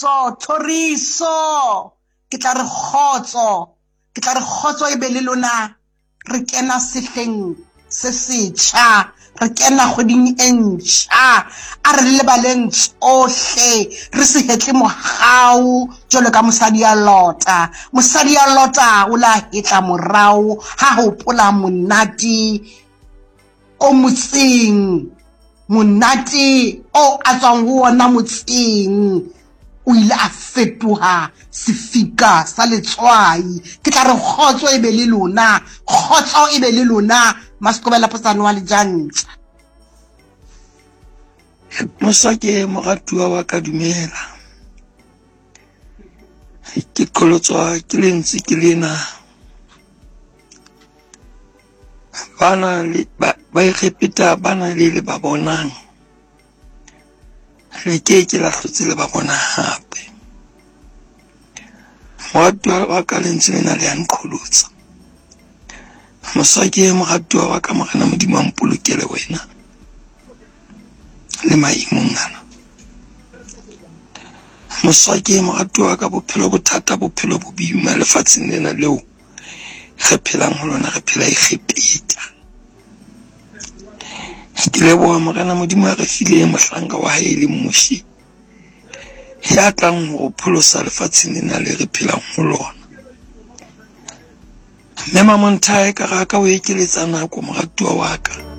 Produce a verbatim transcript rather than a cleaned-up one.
Thoriso, thoriso. Ke tla re kgotso, ke tla re kgotso e be le lona. Re kena sehleng se setjha, re kena kgweding e ntjha. A re lebaleng tsohle, re se hetle morao jwalo ka mosadi ya Lota. Mosadi ya Lota o la hetla morao ha hopola monate o motseng, monate o a tswang ho ona motseng. O ile a fetoha sefika sa letswai. Ke tla re kgotso e be le lona, kgotso e be le lona. Masekobela Potsane wa Lejantja. Mosake moratuwa wa ka, dumela. Ke qholotswa ke lentswe ke lena. Bana le ba ba Egepeta ba na le le ba bonang, le ke ke la hlotse le ba bona hape. Moratuwa wa ka, lentswe lena le ya nqholotsa. Mosake moratuwa wa ka, Morena Modimo a mpolokele wena le maemong ana. Mosake moratuwa wa ka, bophelo bo thata, bophelo bo boima lefatsheng lena leo re phelang ho lona, re phela Egepeta. Ke leboha Morena Modimo a re file mohlanka wa hae e leng Moshe, ya tlang ho pholosa lefatsheng lena le re phelang ho lona. Mme Mamonthae ka ra ka o ekeletsa nako moratuwa wa ka.